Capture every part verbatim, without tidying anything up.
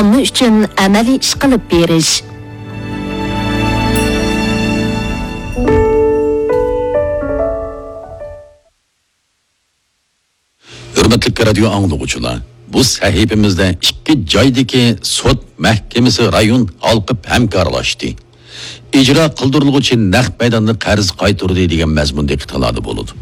ئۈچۈن ئەمەلىي ئىش قىلىپ بېرىش. ھۆرمەتلىك رادىيو ئاڭلىغۇچىلار، بۇ سەھىپىمىزدە ئىككى جايدىكى سوت مەھكىمىسى رايون ھالقىپ ھەمكارلاشتى. ئىجرا قىلدۇرۇلغۇچى نەق مەيداندا قەرز قايتۇردى دېگەن مەزمۇن دىققىتىڭلاردا بولىدۇ.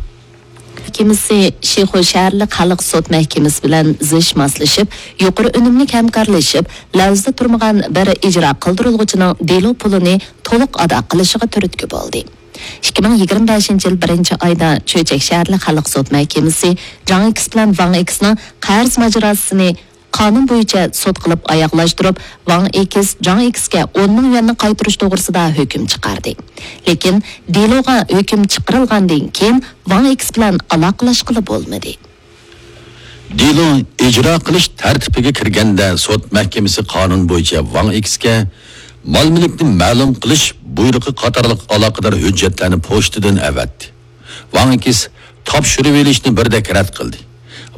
مەھكىمىسى شىخۇ شەھەرلىك خەلق سوت مەھكىمىسى بىلەن زىچ ماسلىشىپ، يۇقىرى ئۈنۈملۈك ھەمكارلىشىپ، لەۋزىدە تۇرمىغان بىر ئىجرا قىلدۇرۇلغۇچىنىڭ دېلو پۇلىنى تولۇق ئادا قىلىشىغا تۈرتكە بولدى. ئىككى مىڭ يىگىرمە بەشىنچى يىل بىرىنچى ئايدا چۆچەك شەھەرلىك خەلق سوت مەھكىمىسى جاڭ ئېكس بىلەن ۋاڭ ئېكسنىڭ قەرز ماجىراسىنى قانۇن بويىچە سوت قىلىپ ئاياغلاشتۇرۇپ، ۋاڭ ئېكس جاڭ ئېكسكە ئون مىڭ يۈەننى قايتۇرۇش توغرىسىدا ھۆكۈم چىقاردى. لېكىن دېلوغا ھۆكۈم چىقىرىلغاندىن كېيىن ۋاڭ ئېكس بىلەن ئالاقىلاشقىلى بولمىدى. دېلو ئىجرا قىلىش تەرتىپىگە كىرگەندە، سوت مەھكىمىسى قانۇن بويىچە ۋاڭ ئېكسكە مال-مۈلۈكنى مەلۇم قىلىش بۇيرۇقى قاتارلىق ئالاقىدار ھۆججەتلەرنى پوچتىدىن ئەۋەتتى. ۋاڭ ئېكس تاپشۇرۇۋېلىشنى بىردەك رەت قىلدى.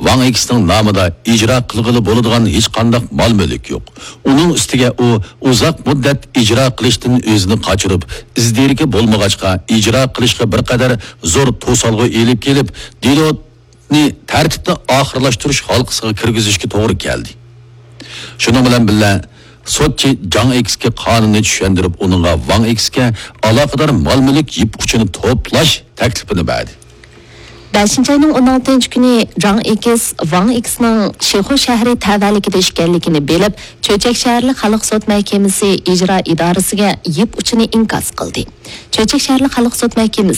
ۋاڭ ئېكسنىڭ نامىدا ئىجرا قىلغىلى بولىدىغان ھېچقانداق مال-مۈلۈك يوق. ئۇنىڭ ئۈستىگە ئۇ ئۇزاق مۇددەت ئىجرا قىلىشتىن ئۆزىنى قاچۇرۇپ، ئىز-دېرىكى بولمىغاچقا، ئىجرا قىلىشقا بىر قەدەر زور توسالغۇ ئېلىپ كېلىپ، دېلونى تەرتىپنى ئاخىرلاشتۇرۇش ھالقىسىغا كىرگۈزۈشكە توغرا كەلدى. شۇنىڭ بىلەن بىللە، سوتچى جاڭ ئېكسكە قانۇننى چۈشەندۈرۈپ، ئۇنىڭغا ۋاڭ ئېكسكە ئالاقىدار مال-مۈلۈك يىپ ئۇچىنى توپلاش تەكلىپىنى بەردى. بەشىنچى ئاينىڭ ئون ئالتىنچى كۈنى جاڭ ئېكس ۋاڭ ئېكسنىڭ شىخۇ شەھىرى تەۋەلىكىدە ئىكەنلىكىنى بىلىپ، چۆچەك شەھەرلىك خەلق سوت مەھكىمىسى ئىجرا ئىدارىسىگە يىپ ئۇچىنى ئىنكاس قىلدى. چۆچەك شەھەرلىك خەلق سوت مەھكىمىسى